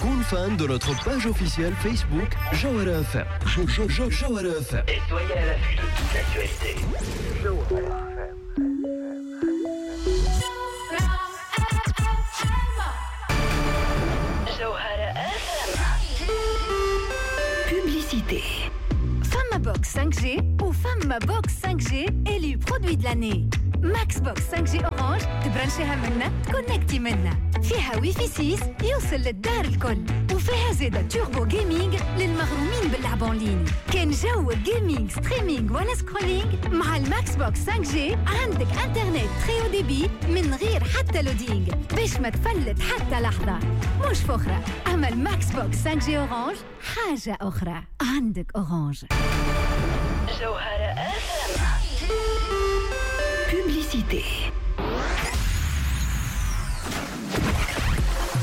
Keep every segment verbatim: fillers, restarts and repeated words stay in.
كون fan de notre page officielle Facebook Jawhara F M. Jawhara F M. Et soyez à l'affût de toute l'actualité. Jawhara F M. Jawhara F M. Publicité. فما box cinq G وفما box cinq G élu produit de l'année. Max Box cinq G Orange تبرنشيها منا تكونكتي منا، فيها ويفي ستة يوصل للدار الكل، وفيها زادة turbo gaming للمغرومين باللعب en ligne. كان جو gaming streaming ولا scrolling مع ال Max Box cinq G عندك انترنت très haut débit من غير حتى loading باش ما تفلت حتى لحظة. مش فخرة، أما ال Max Box cinq G Orange حاجة أخرى. عندك Orange. جوهرة F M. Publicité.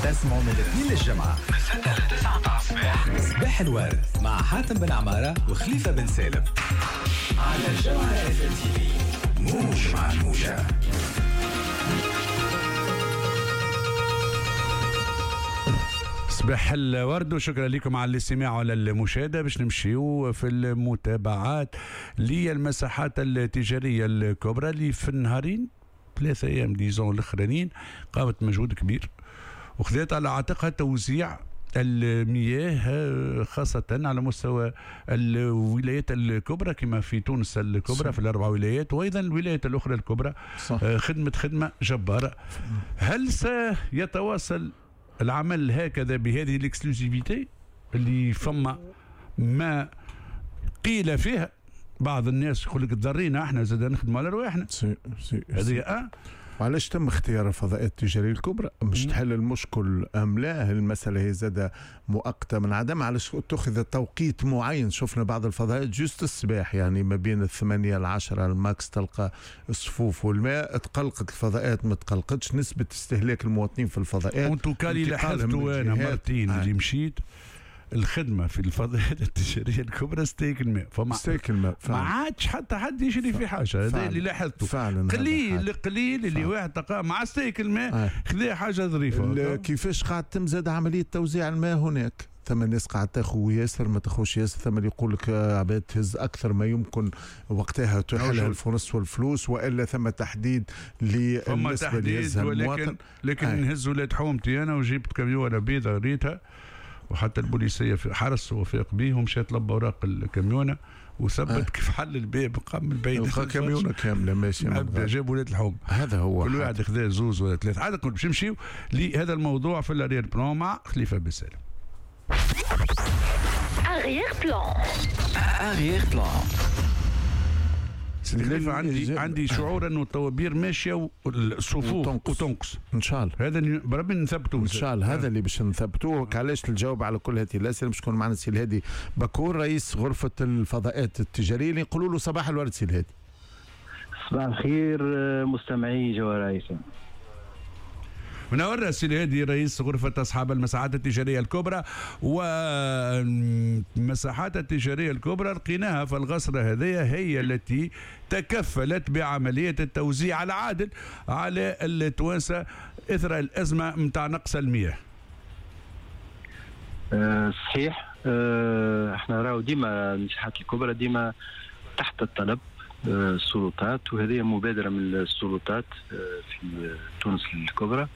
تسمعوا من الاثنين للجمعة من ستة ل تسعة متاع الصباح، صباح الورد مع حاتم بن عمارة وخليفة بن سالم على الجوهرة F M TV. موج مع الموجة. صباح الورد وشكرا لكم على الاستماع وعلى المشاهدة. باش نمشيو في المتابعات للمساحات التجارية الكبرى اللي في النهارين ثلاثة أيام disons الأخرانيين قامت مجهود كبير وخذت على عاتقها توزيع المياه خاصة على مستوى الولايات الكبرى كما في تونس الكبرى في الأربع ولايات وأيضا الولايات الأخرى الكبرى. صح. خدمة خدمة جبارة. هل سيتواصل العمل هكذا بهذه ال exclusivité اللي فما ما قيل فيها؟ بعض الناس يقول لك تضرينا احنا زاد نخدموا على رواحنا. سي سي هذه اه وعلاش تم اختيار الفضاءات التجارية الكبرى؟ مش تحل المشكل ام لا؟ المسالة هي زادة مؤقتة من عدم. علاش اتخذ توقيت معين؟ شفنا بعض الفضاءات juste الصباح، يعني ما بين الثمانية العشرة ال max تلقى الصفوف والماء. تقلقت الفضاءات ما تقلقتش نسبه استهلاك المواطنين في الفضاءات. en tout cas اللي لاحظته انا مرتين اللي مشيت الخدمة في الفضاءات التجارية الكبرى ستيك الماء، فما ستيك الماء ما عادش حتى حد يشري في حاجة. هذا اللي لاحظته فعلا. قليل قليل اللي واحد تلقاه مع ستيك الماء خذا حاجة ظريفة. كيفاش قاعد تم زاد عملية توزيع الماء هناك؟ ثم الناس قاعد تاخذ ياسر ما تاخذش ياسر، ثم اللي يقول لك عباد تهز اكثر ما يمكن وقتها تحلها الفرص والفلوس، والا ثم تحديد للنسبه اللي يهزها المواطن. لكن آه. نهز ولاد حومتي انا وجبت كاميونه بيضاء ريتها، وحتى البوليسيه في حرس وفاق به ومشى طلب اوراق الكاميونه وثبت آه. كيف حل الباب قام من بعيد كاميونه كاملة ماشية جاب ولاد الحوم. هذا هو كل واحد خذا زوز ولا ثلاثة. عاد كنت باش نمشيو لهذا الموضوع في ال arrière-plan مع خليفة بن سالم. arrière-plan arrière-plan. خليفة عندي عندي شعور انه الطوابير ماشية والصفوف وتنقص ان شاء الله. هذا بربي نثبتوه ان شاء الله. هذا اللي باش نثبتوه. علاش الجواب على كل هذه الاسئلة باش يكون معنا السي الهادي بكور رئيس غرفة الفضاءات التجارية اللي نقولوا له صباح الورد سي الهادي. صباح الخير مستمعي جوهرة F M. منور السي الهادي رئيس غرفة أصحاب المساحات التجارية الكبرى. والمساحات التجارية الكبرى لقيناها في الغصرة هذه هي التي تكفلت بعملية التوزيع العادل على التوانسة إثر الأزمة متاع نقص المياه. أه صحيح. أه احنا راهو ديما المساحات الكبرى ديما تحت الطلب السلطات، وهذه مبادرة من السلطات في تونس الكبرى،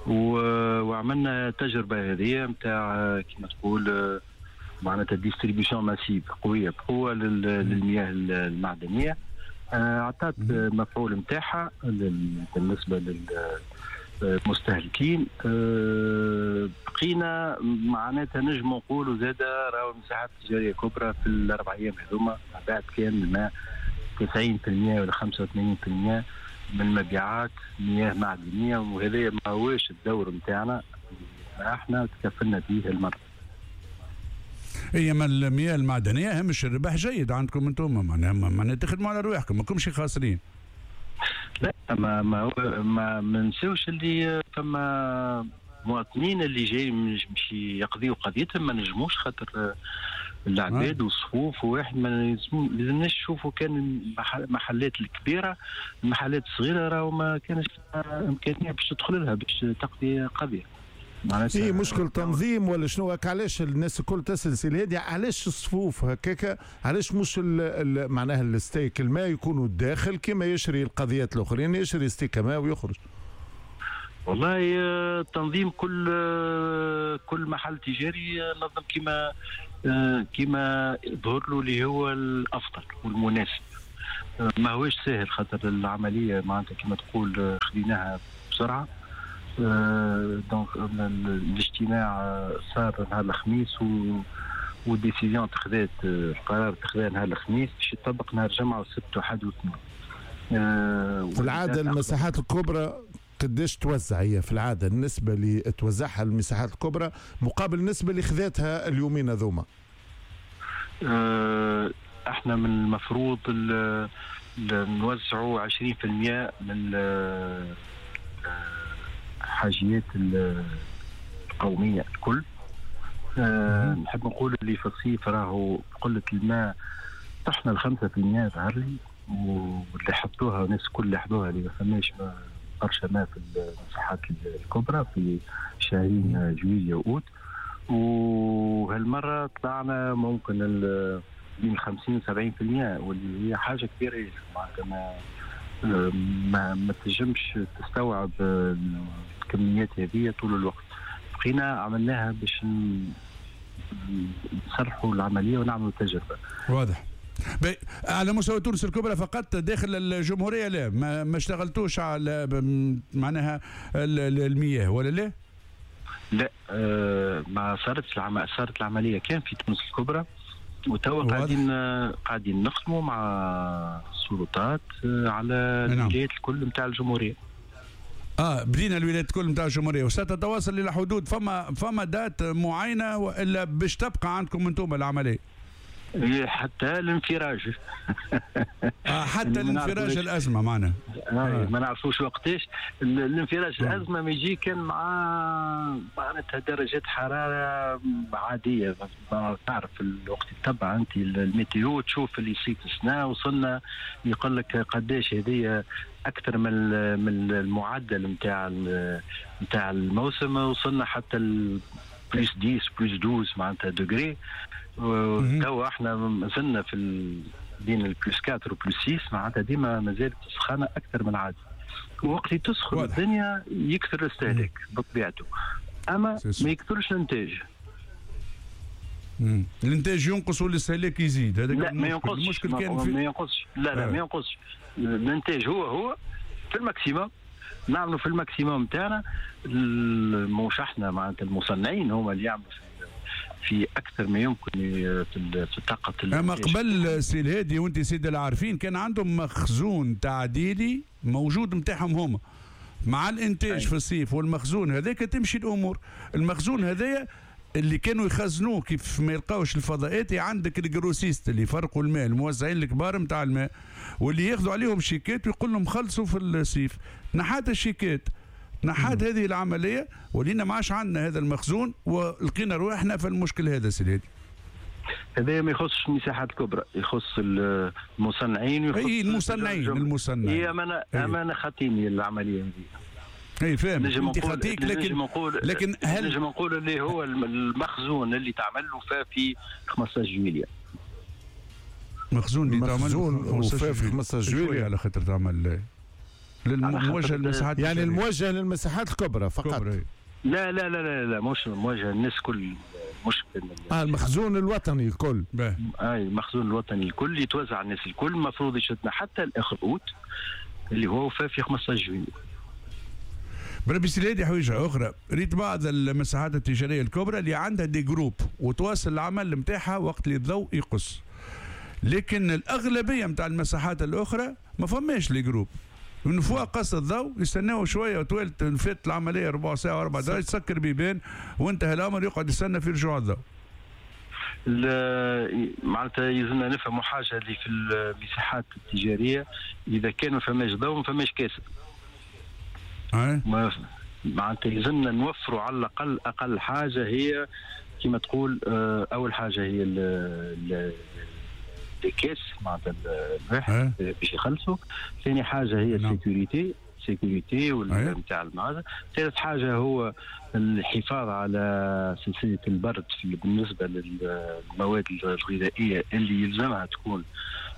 وعملنا تجربة هذه نتاع كما تقول معناتها distribution massive قوية بقوة للمياه المعدنية. أعطت مفعول نتاعها بالنسبة للمستهلكين. بقينا معناتها نجم نقولوا زادة راهو المساحات التجارية الكبرى في الأربع أيام هذوما بعد كان الماء تسعين بالمئة ولا خمسة وثمانين بالمئة من المبيعات مياه معدنية، وهذا ما هوش الدور نتاعنا، احنا تكفلنا به المرة. هي ما المياه المعدنية همش الربح جيد عندكم انتم، معناها معناها تخدموا على رواحكم ماكمش خاسرين. لا ما ما ما ننساوش اللي فما مواطنين اللي جاي باش يقضيوا قضيتهم ما نجموش خاطر العباد والصفوف، وواحد ما لازمناش نشوفوا كان المحلات الكبيرة، المحلات الصغيرة راهو ما كانش امكانية باش تدخل لها باش تقضي قضية. معناتها اي مشكل تنظيم ولا شنو؟ علاش الناس الكل تسال سي الهادي علاش الصفوف هكاك؟ علاش مش ال معناها الستيك الماء يكونوا داخل كما يشري القضيات الاخرين، يشري ستيك ماء ويخرج؟ والله التنظيم كل كل محل تجاري نظم كما كما ظهر له اللي هو الافضل والمناسب. ما هوش سهل خاطر العملية معناتها كما تقول خديناها بسرعة. donc الاجتماع صار نهار الخميس و وال décision تخذات، القرار تخذا نهار الخميس باش يطبق نهار الجمعة والسبت وحد واثنين. في العادة المساحات الكبرى قداش توزع هي في العادة النسبة اللي توزعها المساحات الكبرى مقابل النسبة اللي خذتها اليومين هذوما؟ أه احنا من المفروض نوزعوا عشرين بالمئة من الحاجيات القومية الكل. أه نحب نقول اللي في الصيف راهو قلة الماء طحنا الخمسة بالمئة ظهر لي، واللي حطوها الناس الكل لاحظوها اللي ما فماش برشا ماء في المساحات الكبرى في شهرين جويلية وأوت. وهالمرة طلعنا ممكن بين خمسين وسبعين بالمئة، واللي هي حاجة كبيرة معناتها ما ما, ما تنجمش تستوعب الكميات هذه طول الوقت. بقينا عملناها باش نصرحوا العملية ونعملوا تجربة. واضح. على مستوى تونس الكبرى فقط، داخل الجمهورية لا ما, ما اشتغلتوش على معناها المياه ولا لا؟ لا آه ما صارتش العم... صارت العملية كان في تونس الكبرى، وتوا قاعدين قاعدين نخدموا مع السلطات على الولايات الكل نتاع الجمهورية. اه بدينا الولايات الكل نتاع الجمهورية وستتواصل الى حدود فما فما date معينة والا باش تبقى عندكم انتم العملية؟ حتى الانفراج. آه حتى الانفراج الازمة معنا. آه. ما نعرفوش وقتاش الانفراج الازمة، ما يجي كان مع معناتها درجات حرارة عادية. تعرف الوقت تتبع انت ال météo تشوف اللي يصير في السنة، وصلنا يقول لك قداش هذه اكثر من من المعدل نتاع نتاع الموسم، وصلنا حتى plus عشرة plus اثنا عشر معناتها degrés. توا احنا مازلنا في ال... بين ال plus أربعة و plus ستة، معناتها ديما مازالت السخانه اكثر من العادي. وقت اللي تسخن الدنيا يكثر الاستهلاك بطبيعته، اما ما يكثرش الانتاج. مم. الانتاج ينقص والاستهلاك يزيد. هذا لا ما ينقصش. المشكل كان في ما ينقصش. لا لا آه. ما ينقصش الانتاج، هو هو في ال maximum، نعملوا في ال maximum تاعنا. مش احنا معناتها المصنعين هما اللي يعملوا في اكثر ما يمكن في الطاقة. اما قبل سي الهادي وانت سيد العارفين كان عندهم مخزون تعديلي موجود نتاعهم هما مع الانتاج أي. في الصيف، والمخزون هذاك تمشي الامور. المخزون هذايا اللي كانوا يخزنوه كيف ما يلقاوش الفضاءات، عندك ال grossistes اللي يفرقوا الماء، الموزعين الكبار نتاع الماء، واللي ياخذوا عليهم شيكات ويقول لهم خلصوا في الصيف. نحات الشيكات، نحات هذه العملية، ولينا ما عادش عندنا هذا المخزون ولقينا رواحنا في المشكل هذا سيدي. هذا ما يخصش المساحات الكبرى، يخص المصنعين ويخص اي المصنعين المصنعين. هي امانه امانه خاطيني العملية هذه. اي فاهم انت خاطيك، لكن نقول لكن هل نجم نقول اللي هو المخزون اللي تعمل له في خمسة عشر جويلية. مخزون اللي تعمل وفا في خمسة عشر جويلية على خاطر تعمل للموجه للمساحات، يعني الموجه للمساحات الكبرى فقط. كبرى. لا لا لا لا لا مش موجه الناس كل، مش اه المخزون الوطني الكل. اي المخزون الوطني الكل يتوزع على الناس الكل، المفروض يشدنا حتى الاخر اوت اللي هو وفا في خمسة عشر جويلية. بربي سي الهادي حويجه اخرى، ريت بعض المساحات التجارية الكبرى اللي عندها des groupes وتواصل العمل نتاعها وقت اللي الضوء يقص، لكن الاغلبية نتاع المساحات الاخرى ما فماش les groupes. من فوق قص الضوء يستناو شوية وتوالت فات العملية ربع ساعة واربع دقائق تسكر بيبان وانتهى الامر، يقعد يستنى في رجوع الضوء. معناتها يلزمنا نفهموا حاجة اللي في المساحات التجارية، اذا كان ما فماش ضوء ما فماش كاسب. معناتها يلزمنا نوفروا على الاقل اقل حاجة هي كما تقول، اول حاجة هي les caisses معناتها الواحد باش يخلصوا. ثاني حاجة هي ال sécurité، sécurité نتاع المعازه. ثالث حاجة هو الحفاظ على سلسلة البرد في بالنسبة للمواد الغذائية اللي يلزمها تكون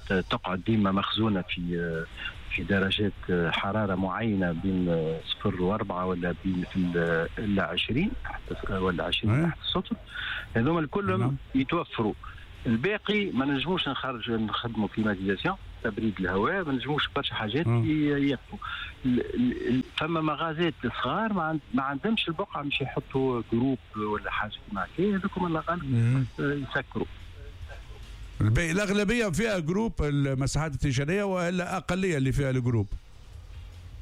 تقعد ديما مخزونه في في درجات حرارة معينة بين صفر واربعة ولا بين الا عشرين ولا عشرين تحت السطر. هذوما الكل يتوفروا. الباقي ما نجموش نخرج نخدموا climatisation تبريد الهواء، ما نجموش برشا حاجات يقفوا. فما مغازات صغار ما, ما عندهمش البقعة باش يحطوا groupe ولا حاجة كيما هكا، هذوكم الله غالب يسكروا. الاغلبية فيها groupe المساحات التجارية والا اقلية اللي فيها ال groupe؟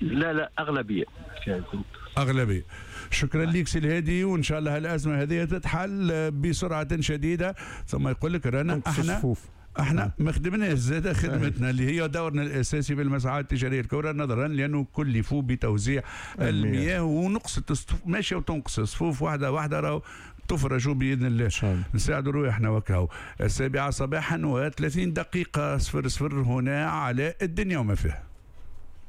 لا لا اغلبية فيها ال groupe. اغلبية. شكرا لك سي الهادي، وان شاء الله الازمة هذه تتحل بسرعة شديدة. ثم يقول لك رانا احنا احنا ما خدمناش زاد خدمتنا اللي هي دورنا الاساسي بالمساحات التجارية الكبرى، نظرا لانه كلفوا بتوزيع المياه ونقصت ماشية وتنقص الصفوف واحدة واحدة، راهو تفرجوا باذن الله. نساعدوا رواحنا وكاو. السابعة صباحا وثلاثين دقيقة صفر صفر هنا على الدنيا وما فيها.